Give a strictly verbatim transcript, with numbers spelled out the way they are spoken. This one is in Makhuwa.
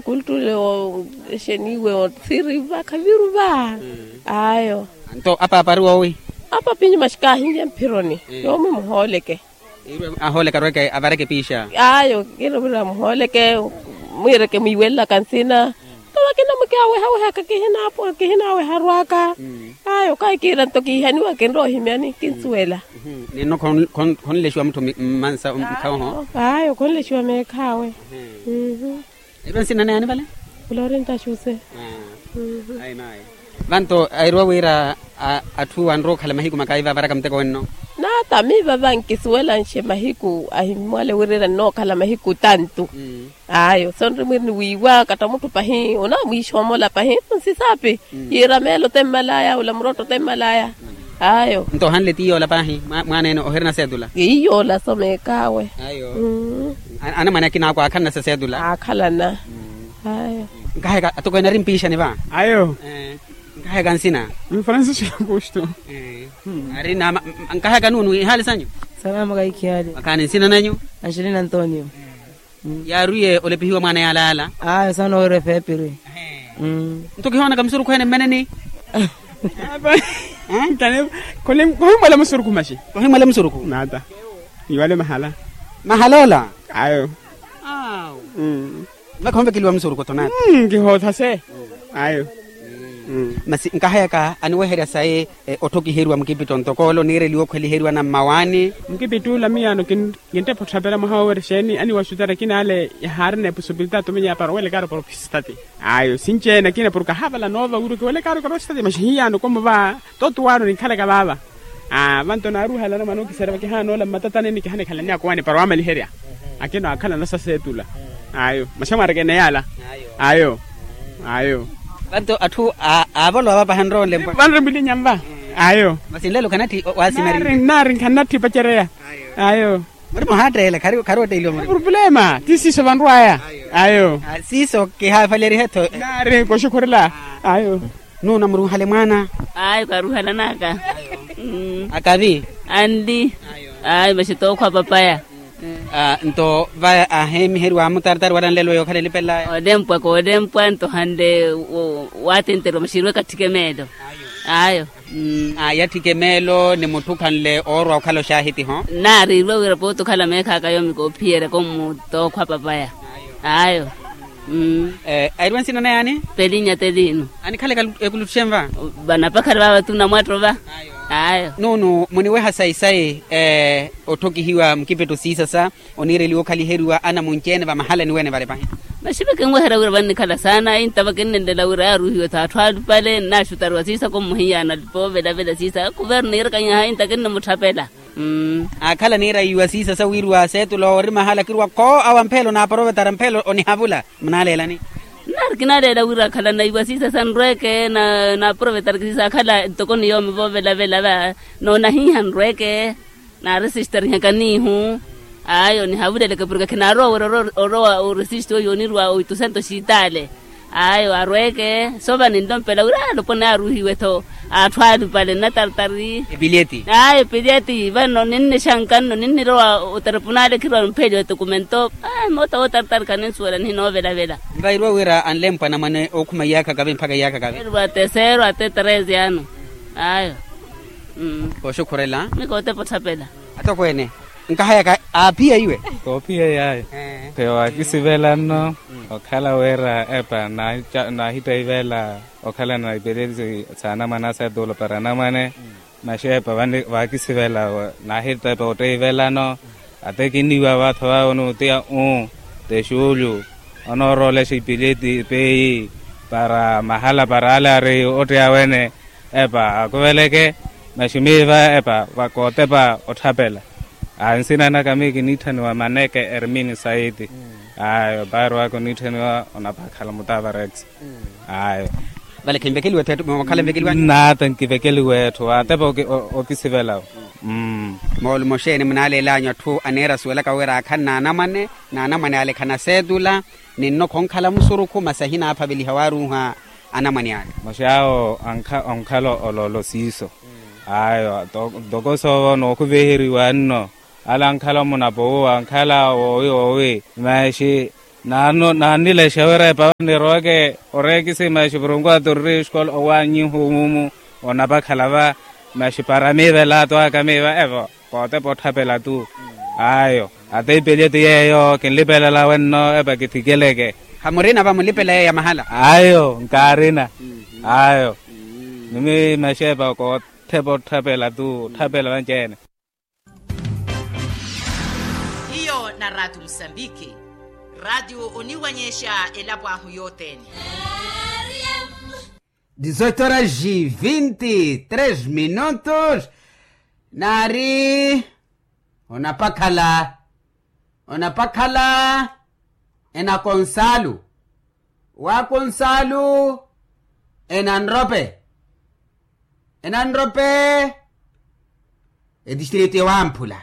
Kultule o exeniwe o siri va khaviru va. Ayo. Nto apaapa ari wowi? Apaapa inyuma xikaahinlye mphironi. Yoomi muhooleke. Iirwe ahooleke arweke avareke piixa. Ayo kiirwe wira muhooleke. Mwiireke mwiiwelelaka nsina. Nto vakina mukiawehawehaka kihinaapo kihinaaweha arwaka. Ayo kahi kiira nto kiihaniwa kinrowa ohimyani kinsuwela. Ninno khonlexiwa mutthu mmansa mukhawoho? Ayo khonlexiwa meekhaawe. Eiro nsina naani vale? Florinta xuse. Ayi mayi. Vanto airwa wira atthu anrowa okhala mahiku makaiva avaraka muteko wenno? Nata miiva vankisuwelanxe mahiku ahimmwale wira ira nnookhala mahiku tantu. Ayo sonri mwiri niwiiwa katta mutthu pahi onamwiixoomola pahi. Nsisapi yiira meelo temmalaya ula murotto temmalaya. Ayo. Nto ohanle ti yoola paahi mwaana ene ohirina seetula? Iyoola so meekaawe. Ayo. Anamwane akina akwa aakhalana sa seetula? Aakhalana. Ayo. Nkahayaka atokweene ari mpiixani va? Ayo. Nkahayaka nsina? Francisco augusto. Ari nama. Nkahayaka nuunu ihaali sanyu? Salama kaikhihaali. Makaani nsina nanyu? Angelina antonio. Yaarwiye olepihiwa mwaana yaalaala? Ayo saana owerwa efeepiri. Nto kihoonaka musurukhu ene mmeneni? Kohimmwela musurukhu maxi. Kohimmwela musurukhu nata. Iwale mahala. Mahala ola? Ayo. Maka onvekeliwa musurukhu tho nata. Kihootha se. Ayo. Masi nkahayaka aniweherya sayi otthokiheriwa mukipitto ntoko ole oniireliwa okhweliheriwa na mmawaani? Mukipitto ula miyaano kinttepha otthapela mwaha wowerya exeeni aniwaxutari akina ale yahaarina epossibilitati omenyeya para owelekaaru para ophisitati. Ayo sinci-ene akina porke ahaavala noova wira okiwelekaaru para ophisitati maxi hiyaano komo va. Toto waano ninkhalaka vaava. Vanto naaruuhala anamwane okiserya vakihaana ola mmatatanini kihaana ekhala nyakowani para wamaliherya. Akina waakhalana sa seetula. Ayo maxamwaareke eneyala. Ayo. Ayo. Vanto atthu aavolowa vapaha nroonle vanre mbulinya nva. Ayo. Masi nlelo khanatthi waasimerya. Nari nkhanatthi opacereya. Ayo. Muri muhaatteela khari otteeliwa muri purupulema ti siiso vanrwaya. Ayo. Siiso kihaafalerihe tho. Nari koxukhurela. Ayo. Nuuna muruuhale mwaana? Ayo karuuhalanaka. Akavi. Anli. Ayo maxi tookhwa papaya. Nto va aheemiheriwa amutartari wala nlelo yokhala elipelaya? Olempwa koolempwa nto hanle. Waattenteriwa maxi irwe katthike meelo. Ayo. Yatthike meelo ni mutthu khanle oorwa okhala oxaahitiho. Naarirwe wira pooti okhala meekhaaka yoomi koophiyerya kommutookhwa papaya. Ayo. Airwa nsina naye ani? Pelinya telino. Anikhalaka ekuluttuxe nva? Vanapakhari vaava tunamwatto va. Ayo. Nuunu muniweha sayi-sayi otthokihiwa mukipitto siisasa oniireliwa okhaliheriwa anamunci-ene vamahalani wene vale pahi. Maxi vakinweherya wira vannikhala saana inta vakinnenlela wira yaaruuhiwe tho atthu alupale nnaxutariwa siisako mmuhiyaana poovela-vela siisa kuverno niirakanyaha inta kinnimutthaphela. Aakhala niirayiwa siisa sawiiriwa seetula oori mahala kiruwa kho awa mphelo naaprovetara mphelo onihavula. Munaaleelani? Nnaari kinaaleela wira akhala naiwa siisa sanrweke naaprovetara kisiisa akhala ntoko ni yoomi voovela-vela va. Noonahiiha nrweke. Naaresistarihaka niihu. Ayo nihavuleleke porke khinaarowa wira orowa oresista oyo onirwa oitusa nto xitaale. Ayo arweke sova ninlompela wira alopone aruuhiwe-tho. Atthu alupale nnatartari. Epileti. Ayo epileti vano ninnexanka nno ninnirowa oterepunaale khirowa mpheliwa etokumento. Moota wootartari khaninsuwela nihinoovelavela. Nvairwa wira anlempwa anamwane ookhuma iyaakha kavi mpakha iyaakha kavi. Erwa tesero ate treze ano. Ayo. Kooxukhurela. Mikootepa otthapela. Atokweene. Nkahayaka aaphiya iwe. Koophiya yaayo. Kheyo waakisivela nno okhala wira epa naahitta ivela okhalana na ipeleti s'anamwane aseetulo para anamwane. Maxi epa vaakisivela naahitta epa otta ivelano. Ate kinniiwa vaatho vaawe onuutiya uu. Texuulyu onooroolexa ipileti epeyi para mahala para ale ari otteya wene. Epa akuveleke maxi miiva epa vakootepa otthapela. Nsina naka miyo kiniitthaniwa maneke ermini saiti. Ayo paari waka oniitthaniwa onapakhala mutavarex. Ayo. Vale khinvekeliwe etthu mookhala nvekeliwanyu? Nata nkivekeliwe etthu atepa okisivelawo. Moolumo xeeni munaaleelanyu atthu aniira asuwelaka wira akhani n'anamwane n'anamwane ale khanaseetula. Ninno khonkhala musurukhu masi ahinaaphaveliha waaruuha anamwane ale. Maxi awo onkhala oloolo siiso. Ayo ntoko soova nookuviheriwa nno ale ankhala munapo uwo ankhala woowi woowi. Maxi Naannilexa wira epawa niroweke oreekisima exipurunku aturri exikola owaanyihu mumu. Onapakhala va maxi para miivela atwaka miiva evo. Kootepa otthapela tu. Ayo. Ata ipelye ti yeeyo kinlipelela wenno epa kithikeleke. Hamurina va mulipela yeeyo ya mahala? Ayo nkaarina. Ayo. Nimi maxi epa kootthepa otthapela tu otthapela vanci-ene. Hiyo na raatiyo musambiki. Raatiyo oniwanyexa elapo ahu yothene. Dizoito horas e vinte e três minutos. Naari onapakhala onapakhala ena konsalu wa konsalu ena nrope ena nrope. Etistrito ewamphula